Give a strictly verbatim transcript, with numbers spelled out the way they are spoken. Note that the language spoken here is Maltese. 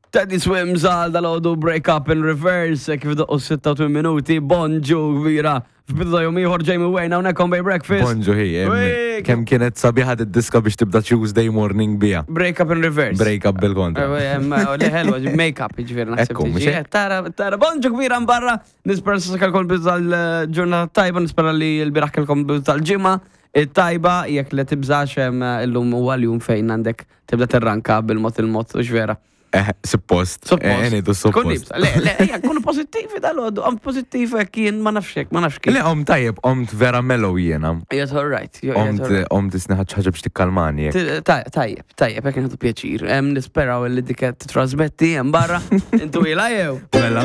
Teddy Swims għal dal-għodu, Break Up in Reverse, kif doqqu sitta u tmien minuti, bonġu kbira. F'bidu ta' jum ieħor, Jamie Wayne, hawnhekk on Bay Breakfast. Bonġu hi, em, Ui, kemm kienet sabiħa d-diska biex tibda Tuesday morning bija. Break Up in Reverse. Break up bil-kontra. Le ħelwa, make up, ġifieri naħseb. Ekku, mhux tiġi. hekk? Tara, tara, bonġu kbira mbarra. Nispera s kelkom bidu tal-ġurnata tajba, nispera li l-bieraħ kelkom bidu tal-ġimgħa tajba, jekk le tibżax em, illum huwa l-jum fejn għandek tibda tirranka bil-mod il-mod, u vera. Eh, suppost. Suppost. Eh, ngħidu Kun suppost. nibsa. Le, le, ejja, kunu pozittivi dal-għodu, għam pozittiv hekk jien ma nafxek, ma nafx kif. Le, om tajjeb, omt vera mellow jiena. Jgħid all right. Jgħid Omt, all right. omt isniħat ħaġa biex tikkalmani. jekk. Ti- taj- Tajjeb, tajjeb, jekk nħadu pjaċir. Em, Nisperaw li dik titrasmetti hemm barra. Intu ila jew. Mela.